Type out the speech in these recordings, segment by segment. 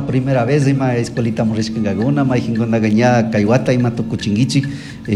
Primera vez ima escuelitaman rishkangakuna, mayqinkunaqa ña kay wata ima tukuchinkichik,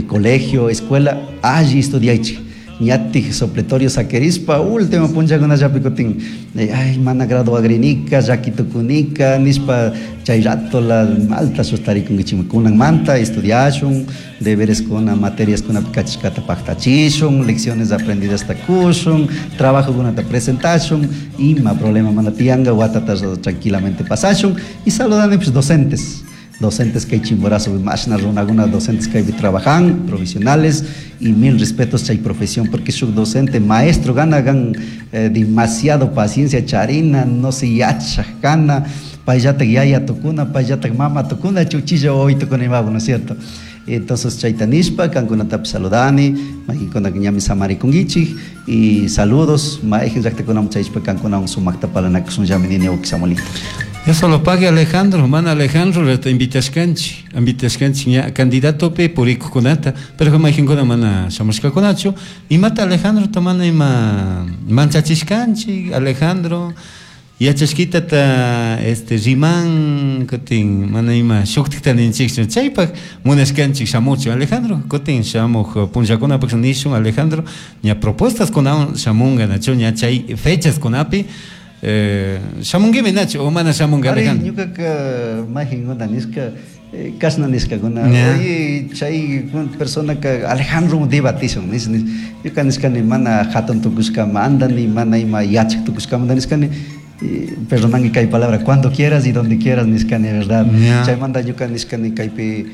colegio, escuela, alli estudiaychik. Ñatik supletorio saquirispa último punllakunallapi kutin, ay mana graduagrinika, llaki tukunika nishpa chay ratola malta sustarikunkichikmi. Kunanmanta estudiashun, debereskuna, materiaskunapi kachishkata paktachishun, lecciones aprendidasta kushun, trabajokunata presentashun, ima problema mana tiyanka, watata tranquilamente pasashun. Y saludanipish docentes, docentes kay Chimborazopi mashna runakuna docentes kaypi trabajan, profesionales, y mil respetos chay profesión, porque shuk docente, maestro gana gan demasiado paciencia charina, no se yachaj kana, payllatak yaya tukuna, payllatak mama tukuna, chuchilla wawi tukuna imabu, ¿no es cierto? Entonces chayta nishpa kankunatapish saludani, mayqinkunaka ñami samarikunkichik, y saludos, mayqin llaktakunaman chayashpa kankunawan sumakta parlanakushunllami nini wawki Samuelito. Dios solo pague Alejandro, mana Alejandro rata invitashkanchik, invitashkanchik ña candidatopi purikuqkunata, pero mayqinkuna mana shamushkakunachu. Imata Alejandrota mana ima manchachishkanchik, Alejandro yachashkitata riman, kutin mana ima shuktikta ninchikchu, chaypaq munashkanchik shamuchun Alejandro, kutin shamuq punllakunapaq nishun Alejandro, ña propuestas kunawan shamunga nachu ña chay fechas kunapi shamunguimi nachu o mana shamunga Ari, Alejandro? ñukaka mayqinkuna nishka, kashna nishkakuna, oye, chay personaka Alejandro debatishun, nish, nish. Ñuka nishkani mana hatun tukushkamanta, ni mana ima yachak tukushkamanta nishkani, perdonanki kay palabra, cuando quieras y donde quieras nishkani, verdad? Chaymanta ñuka nishkani kaypi,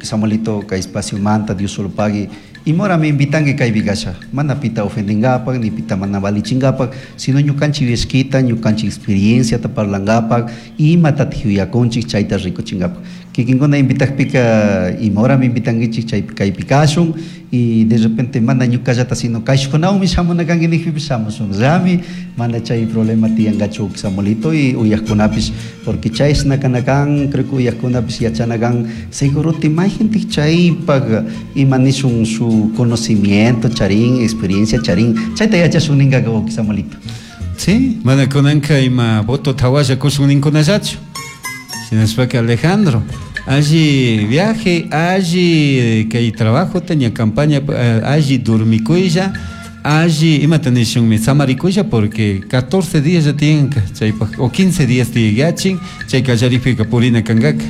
Samuelito, kay espacio manta, Dios solo pague. Y mora me invitanki kaypi kasha, mana pita ofendingapak, ni pita mana valichingapak, sino ñukanchik yuyashkita, ñukanchik experienciata parlangapak, imatatik yuyakunchik chayta rikuchingapak. Kikinkuna invitakpika, imahora me invitankichik chaypi kaypi kashun, y de repente mana ñukallata, sino kayshkunawanmi shamuna kanki nijpipish shamushunllami, mana chay problema tiyankachu Samuelito y uyajkunapish, porque chayshna kana kan, creo que uyajkunapish yachana kan, seguro ti mayqintik chaypak ima nishun su conocimiento charin, experiencia charin, chayta yachashun ninkaka wawki Samuelito. Sí, mana kunanka ima voto tawalla kushun ninkunallachu. Shinashpaka Alejandro, alli viaje, alli kay trabajo ña campaña, alli durmikuylla, alli imata nishunmi samarikuylla, porque 14 días ya tiyanka chaypak, o 15 días tiyachin, chay kallaripika purina kankaka.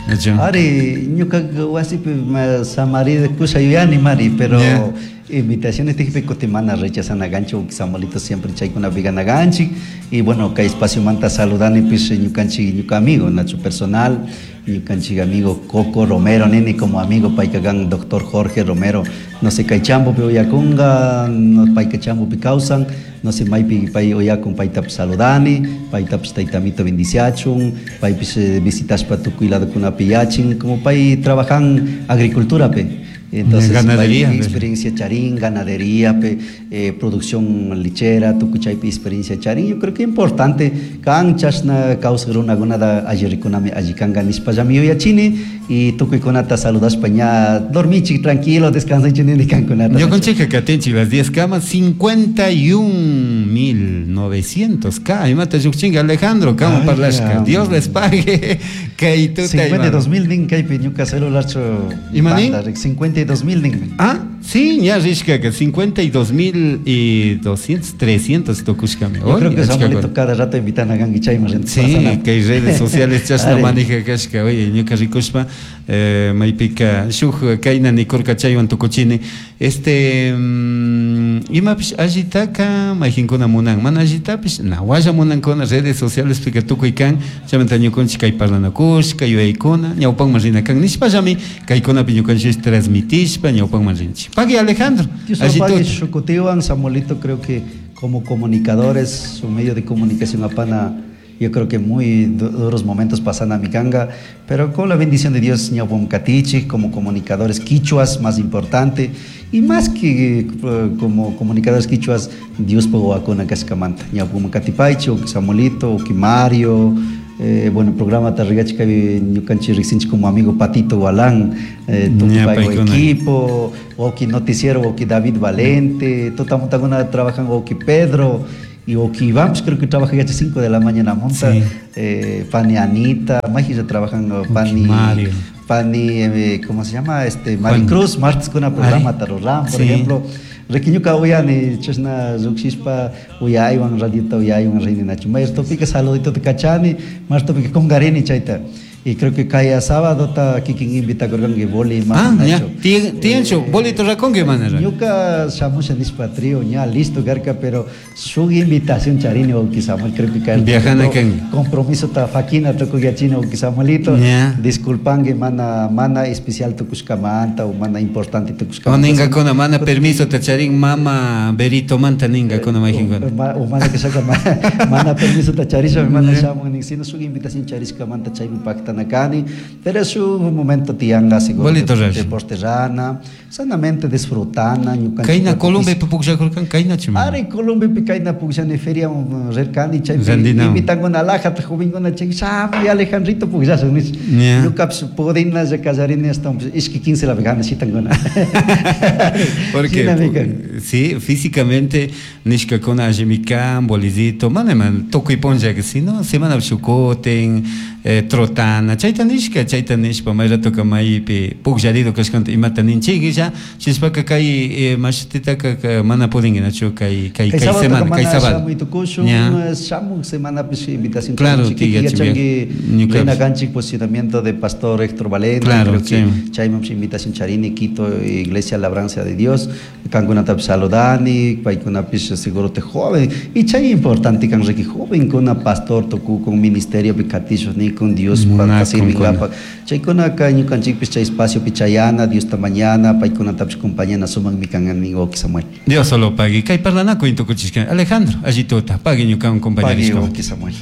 Nachu? Ari, ñuka wasipi samarikusha yuyani, mari, pero invitaciones tijpi kuti mana rechazana gancho, Samuelito siempre chaykunapi gana ganchik, y bueno, kay espacio manta saludani pish ñukanchik, ñuka amigo, Nacho personal, ñukanchik amigo Coco Romero, nini como amigo paykagan doctor Jorge Romero, no sé kay chambo pi uyakunga, no payka chambo pi kawsan, no sé maypi pay uyakun paytapish saludani, paytapish taytamito bendiciachun, paypish visitashpa tukuy ladokunapi yachin, como pay trabajan agricultura pe. Entonces, ganadería, pay pe. experiencia charín, ganadería, pe producción lechera, tukuchaypi experiencia charín. Yo creo que importante, kan chashna kawsaq runakunata alli rikunami alli kanka nishpallami yuyachini, y tukuykunata saludashpa ña dormichik tranquilo, descansenchik nini kankunata. Ñukanchikka katinchik las 10 camas, 51.900 K. Imata llukchinka Alejandro, kama Ay, parlashka. ya. Dios les pague. Kay tuta Cincuenta y ima. dos mil nin kaypi ñuka celularchu Ima nin? banda, 52.000 nin. Ah, sí, ña rishkaka, 52.200, 300 tukushkami. Yo creo que Oye, Samuelito achka cada rato invitan a gangi chayman renta Sí, pasana. que hay redes sociales chashna Ari. manija kashka, oye, ñuka rikushpa, maypika shuk kayna nikurka chaywan tukuchini. Imapish allitaka mayqinkuna munan, mana allitapish nawalla munankuna redes sociales pika tukuy kan, chaymanta ñukanchik kay parlanakushka, yuyaykuna, ñawpanman rina kan nishpallami kaykunapi ñukanchik transmitishpa ñawpanman rinchik. Pagui Alejandro, Dios lo allí pague, tuta. Shukutiwan, Samuelito, creo que como comunicadores, su medio de comunicación apana, yo creo que muy duros momentos pasan a mi ganga, pero con la bendición de Dios, ñawpam katichik, como comunicadores quichuas, más importante, y más que como comunicadores quichuas, Dios po wakuna kashkamanta. Ñawpam katipaychi, o Samuelito, o Mario, bueno, programa Tarrigachi kabi ñukanchik riqsinchik como amigo Patito Gualán, Ña, tukuy paykuna. equipo, oki noticiero, oki David Valente, tutamuntakuna trabajan oki Pedro, Y Oki Iván, pues creo que trabaja ya a 5 de la mañana monta. Sí. Pani Anita, Maji ya trabajan, Pani Mario. Pani, ¿cómo se llama? Maricruz, martes con una programa Ari. Tarorán, por Sí. ejemplo. Requiñuca uyani, chashna lluqshishpa uyaywan, radiota uyaywan rininachu. Mayertopica saludito te cachani, mayertopica congarini chayta. Y creo que kaya sábado ta kikin invita corgangue boli Ah, mana ya. nacho. Tiencho, bolito racongue mana ra. Ñuka shamusha nishpa trío, ña listo garca, pero su invitación charini o Samuel, creo que cae. Viajana kan. Compromiso ta fakina toko yachina o Samuelito. Ya. Disculpangue mana, mana especial tukushkamanta o mana importante tukushkamanta. O ninga kona mana permiso ta charin mama berito manta ninga kona majin kona. O mana que saca mana permiso ta charisha mana shamun nin sino su invitación charishkamanta chaymi pactanakani, pero su momento tianga seguro Bolito rash. deporte rana, sanamente disfrutana ñukanchik Kayna pukis- Colombia pukllakurkan kayna chima. Ari Colombia pi kayna pukllani feria rirkani chaypi Randinawan. invitankuna alajata jovenkuna chay shamuy Alejandrito pukllashun nish. Ya. Ñukapish pudinalla kallarini ashtawanpish ishki quince la vegana shitankuna. Porque Shinami kan. sí, físicamente nishkakuna allimi kan, bolillito, mana man tukuy punlla, sino semana shukutin, trotana, chayta nishka, chayta nishpa may ratoka maypi pukllarido kashkanta imata ninchikilla, shishpaka kay mashititaka mana pudinguinachu kay kay Kay kay sábado semana, kay mana sábado. shamuy tukushun, Ya. shamuy semanapish invitación Claro, charinchik, tiga, yachanki ñuka- Reina Ganchik, posicionamiento de Pastor Héctor Valente, Claro, creo que sí. chayman invitación charini, Quito, Iglesia Labranza de Dios, kankunatapish saludani, paykunapish seguro te joven, y chay importante kan riki joven kuna pastor tuku con ministerio picatillos ni con Dios para Munakun sirvingapa. Chaykuna ka ñukanchikpish chay espacio pichayana, Dios ta mañana, paykunatapish compañana sumak mikan amigo Samuel. Dios solo pagui. Kay parlanakuy tukuchishka. Alejandro, allí tuta, pagui ñukan Pagui compañerishka. Samuel.